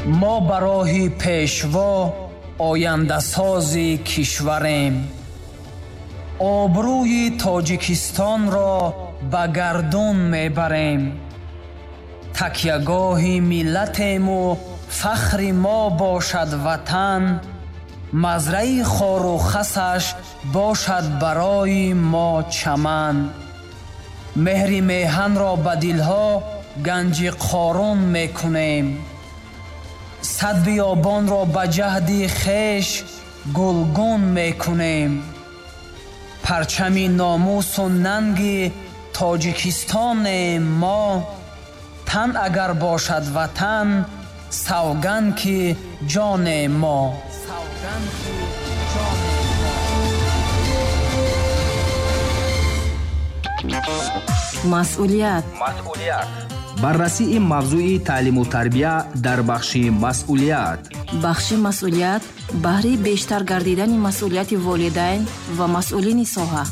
Мо ба роҳи Пешво ояндасози кишварем. Обрӯи Тоҷикистонро ба гардун мебарем. Такягоҳи миллатему фахри мо бошад Ватан, мазраи хору хасаш бошад барои мо чаман. Меҳри меҳанро ба дилҳо ганҷи Қорун мекунем. Сад биёбонро ба ҷаҳди хеш гулгун мекунем. Парчами номусу нанги Тоҷикистонем мо, тан агар бошад Ватан, савганд ки ҷоне мо. Масъулият. Баррасии мавзӯи таълиму тарбия дар бахши масъулият. Бахши масъулият баҳри бештар гардидани масъулияти волидайн ва масъулини соҳа.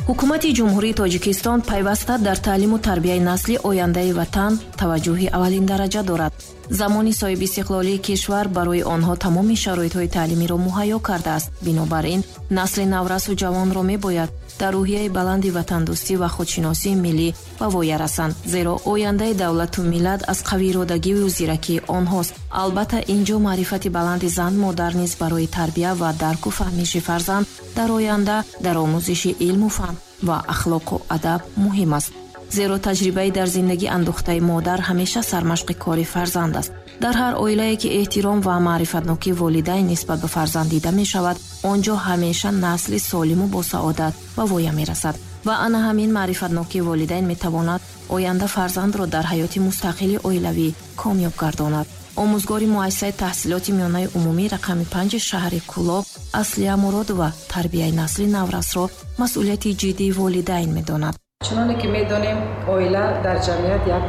Ҳукумати Ҷумҳурии Тоҷикистон пайваста дар таълиму тарбияи насли ояндаи ватан таваҷҷӯҳи аввалиндараҷа дорад. Замони соҳибистиқлолии кишвар барои онҳо тамоми шароитҳои таълимиро муҳайё кардааст. Бинобар ин насли наврасу ҷавонро мебояд дар рӯҳияи баланди ватандӯстӣ ва худшиносии миллӣ ба воя расанд, зеро ояндаи давлату миллат аз қавииродагиву зиракии онҳост. Албатта, ин ҷо маърифати баланди зан модар низ барои тарбия ва дарку фаҳмиши фарзанд дар оянда дар омӯзиши илму фан ва ахлоқу адаб муҳим аст, зеро таҷрибаи дар зиндагӣ андӯхтаи модар ҳамеша сармашқи кори фарзанд аст. Дар ҳар оилае ки эҳтиром ва маърифатнокии волидайн нисбат ба фарзанд дида мешавад, он ҷо ҳамеша насли солиму босаодат ба воя мерасад. Ва ана ҳамин маърифатнокии волидайн метавонад оянда фарзандро дар ҳаёти мустақили оилавӣ комёб гардонад. Омӯзгори муассисаи таҳсилоти миёнаи умумӣ рақами 5 шаҳри Кӯлоб Аслия Муродова тарбияи насли наврасро масъулияти ҷиддии волидайн медонад. Чуноне ки медонем, оила дар ҷамъият як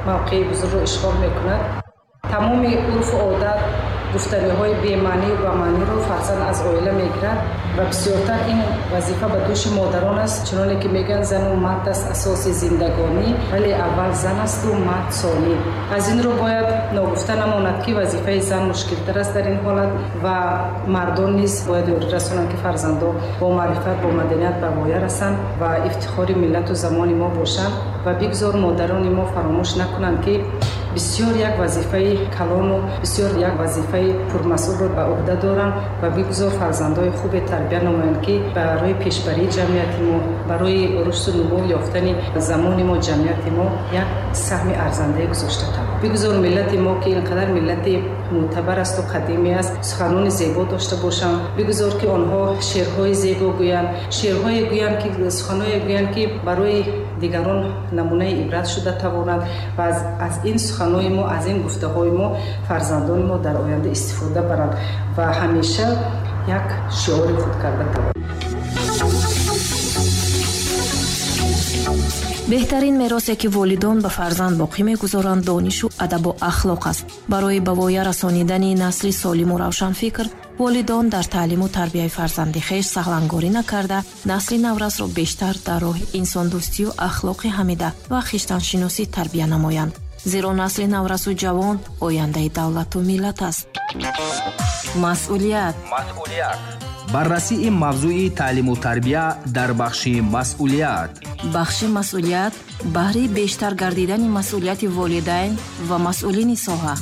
мавқеи бузургро ишғол мекунад. Тамоми урфу одат, гуфтаниҳои бемаънию бамаъниро фарзанд аз оила мегирад ва бисёртар ин вазифа ба дӯши модарон аст. Чуноне ки мегӯянд, зану мард аст асоси зиндагонӣ, вале аввал зан асту мард сонӣ. Аз ин рӯ бояд ногуфта намонад, ки вазифаи зан мушкилтар аст дар ин ҳолат ва мардон низ бояд ёрӣ расонанд, ки фарзандон бо маърифат, бо маданият ба воя расанд ва ифтихори миллату замони мо бошанд. Ва бигзор модарони мо фаромӯш накунанд, ки бисёр як вазифаи калону бисёр як вазифаи пурмасъулро ба уҳда доранд ва бигзор фарзандои хубе тарбия намоянд, ки барои пешбарии ҷамъияти мо, барои рушду нумӯ ёфтани замони мо, ҷамъияти мо як саҳми арзандае гузошта тавонанд. Бигзор миллати мо, ки ин қадар миллати мӯътабар асту қадимӣ аст, суханони зебо дошта бошанд. Бигзор ки онҳо шеърҳои зебо гӯянд, шеърҳое гӯянд, ки суханое гӯянд, ки барои дигарон намунаи ибрат шуда тавонанд ва аз ин суханои мо, аз ин гуфтаҳои мо фарзандони мо дар оянда истифода баранд ва ҳамеша як шиори худ карда тавонанд. Беҳтарин меросе ки волидон ба фарзанд боқӣ мегузоранд, донишу адабу ахлоқ аст. Барои ба воя расонидани насли солиму равшанфикр волидон дар таълиму тарбияи фарзанди хеш саҳлангорӣ накарда, насли наврасро бештар дар роҳи инсондӯстию ахлоқи ҳамида ва хиштаншиносӣ тарбия намоянд, зеро насли наврасу ҷавон ояндаи давлату миллат аст. Масъулият. Баррасии мавзӯи таълиму тарбия дар бахши масъулият. Бахши масъулият баҳри бештар гардидани масъулияти волидайн ва масъулини соҳа.